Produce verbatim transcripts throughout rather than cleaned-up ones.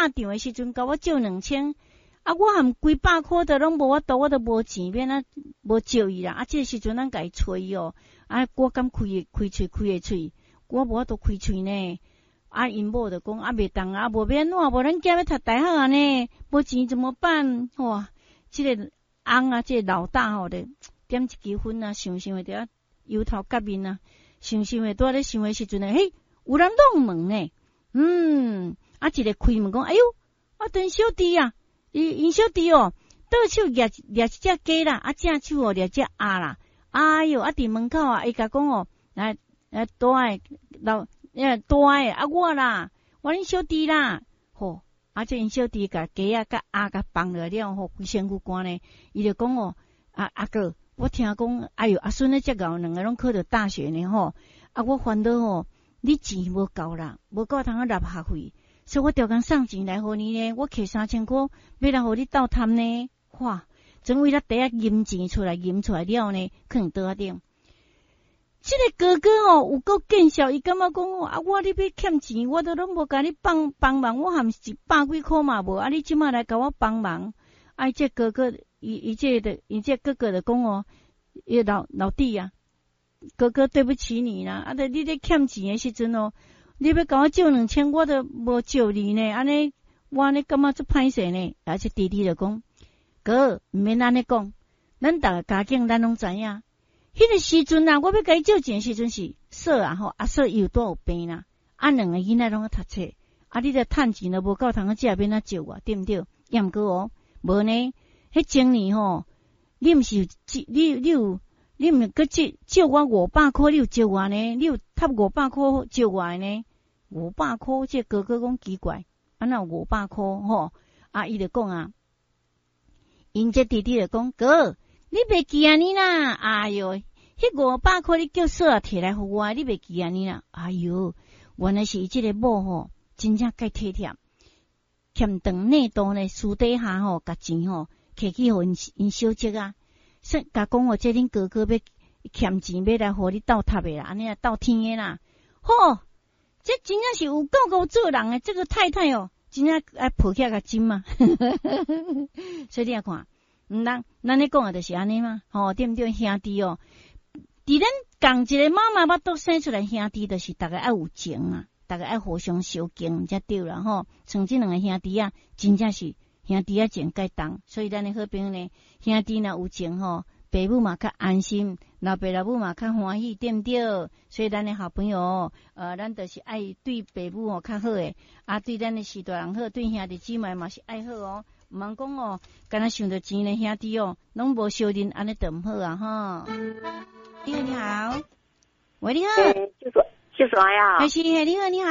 拍仗的時陣，共我借兩千，啊，我含幾百箍都攏無法度，我都無錢，欲按怎無借伊啦。啊，這個時陣咱共伊揣哦，啊，我敢開開喙開會喙，我無法度開喙呢。啊，𪜶某就講啊，袂當啊，無欲按怎，無咱囝欲讀大學啊呢，無錢怎麼辦？哇，這個翁啊，這個老大吼咧，點一支薰啊，想想會佇遐憂頭結面啊，想想會拄仔咧想的時陣呢，嘿，有人撞門呢，嗯，啊，一個開門講，哎喲，啊，阮小弟啊，伊𪜶小弟哦，倒手掠掠一隻雞啦，啊，正手哦掠隻鴨啦，哎喲，啊，佇門口啊，伊共講哦，來來大的老。欸，大的啊，我啦，我恁小弟啦，吼，啊，這𪜶小弟共雞仔佮鴨共放落了吼，規身軀汗呢，伊就講哦，啊阿哥，我聽講，哎喲，阿孫咧遮𠢕，兩个攏考著大學呢吼，啊，我煩惱吼，你錢無夠啦，無夠通啊納學費，所以我著共送錢來予你呢，我摕三千箍，欲來予你鬥趁呢，哇，總為咱袋仔銀錢出來，銀出來了呢，囥佇桌仔頂。這個哥哥哦，有夠見笑，伊感覺講哦，啊，我你欲欠錢，我都攏無共你幫幫忙，我含一百幾箍嘛無，啊，你這馬來共我幫忙，啊，這哥哥，伊伊這个，伊這哥哥就講哦，伊老老弟啊，哥哥對不起你啦，啊，著你咧欠錢的時陣哦，你欲共我借兩千，我都無借你呢，按呢，我按呢感覺足歹勢呢，啊，這弟弟就講，哥，毋免按呢講，咱逐个家境咱攏知影。彼個時陣啊，我欲共伊借錢的時陣是嫂啊吼，阿嫂伊有拄有病啦，啊兩个囡仔攏咧讀冊，啊你著趁錢都無夠通食，欲按怎借我，對毋對？抑毋過哦，無呢，彼前年吼，你毋是有借，你你有，你毋是閣借借我五百箍，你有借我呢？你有趁五百箍借我的呢？五百箍，這哥哥講奇怪，啊哪有五百箍吼？啊伊就講啊，𪜶這弟弟就講，哥，你袂記按呢啦？哎喲，彼五百箍你叫嫂仔提來予我，你袂記按呢啦？哎喲，原來是伊這個某吼，真正介體貼，欠長內肚呢，私底下吼，共錢吼摕去予𪜶𪜶小叔啊，說共講哦，這恁哥哥欲欠錢欲來予你鬥貼的啦，按呢啊鬥天的啦，吼，這真正是有夠夠做人的，這個太太哦，真正愛抱起來共親嘛，所以你也看。毋咱咱咧講的就是按呢嘛，吼，對毋對？兄弟哦，佇咱仝一个媽媽腹肚生出來兄弟，就是逐家愛有情啊，逐家愛互相相敬才對啦吼。像這兩个兄弟啊，真正是兄弟仔情蓋重，所以咱的好朋友呢，兄弟若有情吼，爸母嘛較安心，老爸老母嘛較歡喜，對毋對？所以咱的好朋友，呃，咱就是愛對爸母哦較好的，啊，對咱的序大人好，對兄弟姊妹嘛是愛好哦。毋通講哦，敢若想著錢的兄弟哦，攏無相認，按呢就毋好啊吼。你好，你好，喂，你好，秀秀秀呀，係是，係你好，你好，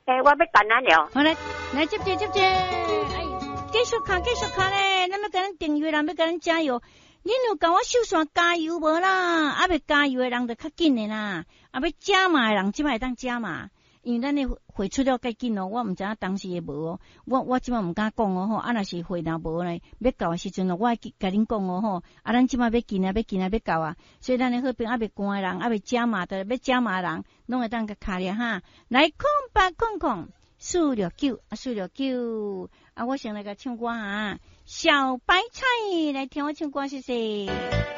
欸，我欲感恩了，好來，來接住接住，哎，繼續敲，繼續敲咧，咱欲共咱訂閱人，欲共咱加油，恁有共我秀線加油無啦？啊，欲加油的人就較緊的啦，啊，欲加碼的人這擺會當加碼。因為咱的匯出了較緊哦，我毋知影當時會無哦，我我這擺毋敢講哦吼，啊若是匯若無呢，欲到的時陣哦，我會共恁講哦吼，啊咱這擺欲緊啊，欲緊啊，欲到啊，所以咱的好朋友猶未關的人，猶未加碼的，欲加碼的人，攏會當共敲咧哈，來空八空空四六九啊四六九，啊我先來共唱歌啊，小白菜來聽我唱歌，謝謝。